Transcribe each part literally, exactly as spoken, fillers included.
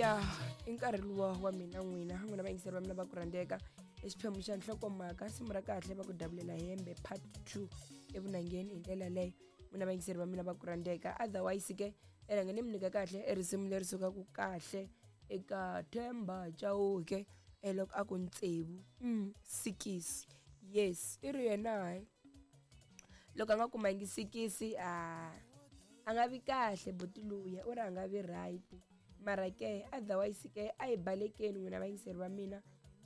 Ya, i nkarhi luwa wa mina n'wina, n'wina vayingiseri va mina va ku rhandzeka. I xiphemu xa nhlokomhaka, risimu ra kahle va ku davulela hembe part two evunangeni hi ndlela leyo. N'wina vayingiseri va mina va ku rhandzeka. Otherwise ke, e rhanga ni mi nyika kahle e risimu leri sukaka kahle eka Themba Chauke e loko a ku ntsevu mm, sikisi. Yes, i ri yena hayi. Loko a nga kumangi sikisi a a nga vi kahle buti luya, u ri a nga vi right. Mara ke otherwise ke a hi balekeni n'wina vayingiseri va mina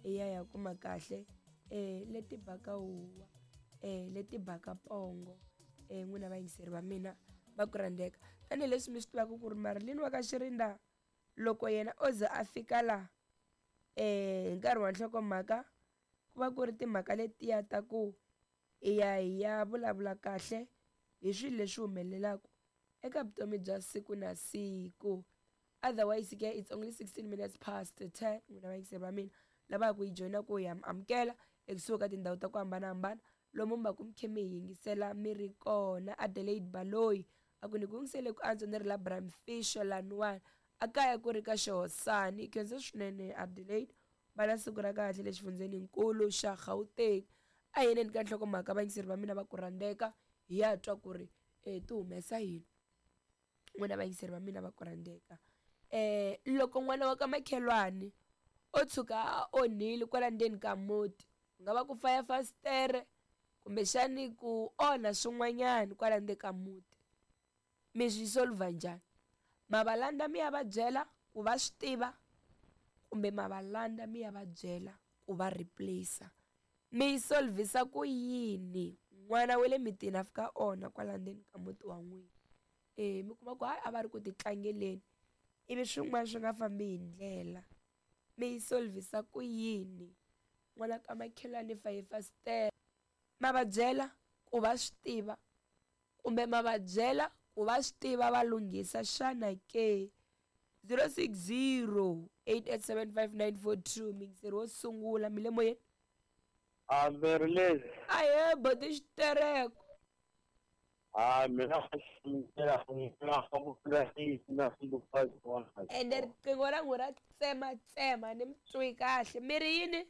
hi ya ya kuma kahle eh leti baka huwa eh leti baka pongo eh n'wina vayingiseri va mina va ku rhandzeka. Tanihileswi mi swi tivaka ku ri Marilyn wa ka Xirinda loko yena o ze a fika la eh hi nkarhi wa nhlokomhaka ku va ku ri timhaka letiya ta ku hi ya hi ya vulavula kahle hi swilo leswi humelelaka eka vutomi bya siku na siku. Otherwise ke it's only sixteen minutes past ten n'wina vayingiseri va mina lava ku yi joyina ku ya amukela ekusuhi ka tindhawu ta ku hambanahambana lomu mi va ku mi khe mi hi yingisela mi ri kona. Adelaide Baloyi a ku ni ku yingisele ku antswa ni ri la Bram Fischer laniwani a kaya ku ri ka Xihosani. Khensa swinene Adelaide, va na siku ra kahle le xifundzeninkulu xa Gauteng. A hi yeneni ka nhlokomhaka vayingiseri va mina va ku rhandzeka hi ya twa ku ri eh ti humesa yini n'wina vayingiseri va mina va ku rhandzeka. Eh loko n'wana wa ka makhelwani o tshuka a onhile kwala ndzeni ka muti, ku nga va ku faya fasitere kumbexani ku onha swin'wanyana kwala ndzeni ka muti, mi swi solver njhani? Ma va landza mi ya va byela ku va swi tiva kumbe ma va landza mi ya va byela ku va replace? Mi yi solvisa ku yini n'wana wa le mitini a fika onha kwala ndzeni ka muti wa n'wina? Eh mi kuma ku hayi a va ri ku ti tlangeleni ivi swin'wana swi nga fambi hi ndlela, mi yi solvisa ku yini n'wana ka makhelwani faye fasitere? Ma va byela ku va swi tiva kumbe ma va byela ku va swi tiva va lunghisa xana ke? zero six zero eight eight seven five nine four two miyingiseri wo sungula mi le moyeni. A Marilyn. Ahe boti xitereko. A mina ende riqingho ra n'wina ra tsematsema ni mi twi kahle. Mi ri yini?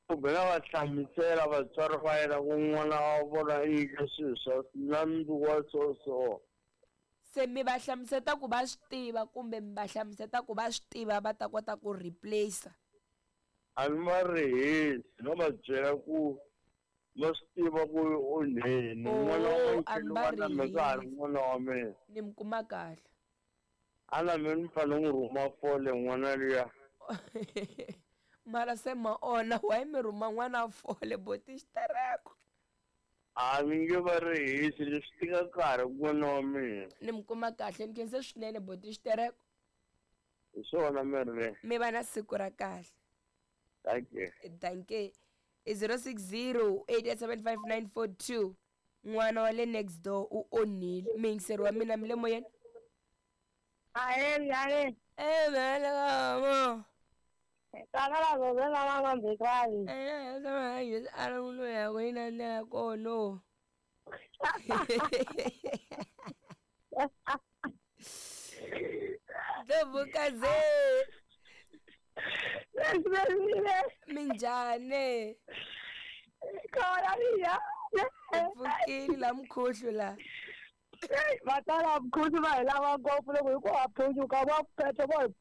Kumbe na va hlamusela vatswari va yena ku n'wana wa vona i endle swilo swa na mundzuku wa so so. Se mi va hlamuseta ku va swi tiva kumbe mi va hlamuseta ku va swi tiva va ta kota ku replace? A ni va rihisi, no va byela ku va swi tiva ku onheni n'wana wa Oh, a mi va makhelwani na mina ka ha ri rihisi. n'wana wa mina. Ni mi kuma kahle. A na mina ni fanele n'wi rhuma fole n'wana luya. Mara se ma onha, why mi rhuma n'wana fole boti xitereko? A ni nge va rihisi, leswi tika nkarhi n'wana wa mina. Ni mi kuma kahle, ni khense swinene boti xitereko. Hi swona Marilyn. Mi va na siku ra kahle. Thank you. Thank you. I zero six zero eight eight seven five nine four two. N'wana wa le next door u onhile. Miyingiseri wa mina mi le moyeni? Ahe, njhani? Eh, mhani. Tata la zoze la mama mbekwazi. Eh, sama hayi ala uno ya wena na kono. Ndlovukazi. Minjhani? Khona mina. Pfukile la mkhuhlu la. Va tala mkhuhlu va hi lava ngopfu loko hi ku ha phunyuka va phetha va hi